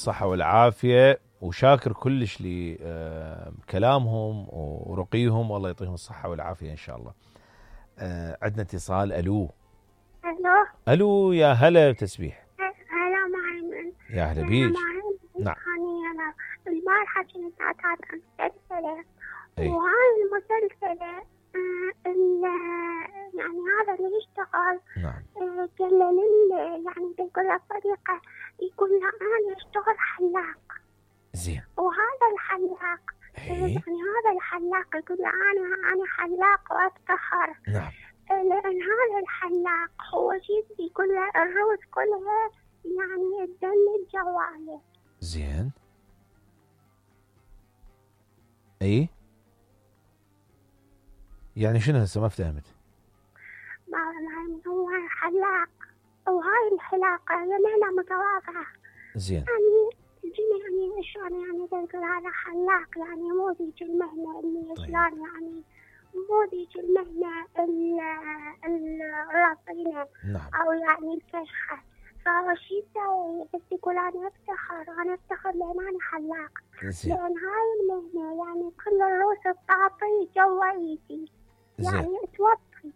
الصحة والعافية، وشاكر كلش لكلامهم ورقيهم، والله يعطيهم الصحة والعافية إن شاء الله. عندنا اتصال. ألو ألو، يا هلا تسبيح. هلا معي. يا هلا بيج. نعم. أنا البارحة كنت أتابع مسلسلة، أي. وهاي المسلسلة يعني هذا اللي يشتغل نعم. قال يعني بيقول له طريقة، يقول له أنا أشتغل حلاق. زين. وهذا الحلاق يعني هذا الحلاق يقول له أنا حلاق وأفتخر. نعم. لأن هذا الحلاق هو شيء يقول له الروس كلها يعني الدم الجوالة. زين. اي يعني شنو هسه ما فهمت؟ هو حلاق، وهاي الحلاقة هي مهنة متواضعة. زين. يعني شلون يعني تقول هذا حلاق، يعني مو ذيك المهنة اللي شلون يعني مو ذيك المهنة الرصينة. نعم. أو يعني الكشخة. فهو شي يسوي بس يقول أنا أفتخر لأن أنا حلاق. زين. لأن هاي المهنة يعني كل الروس تعطي جوا إيدي. يعني توطي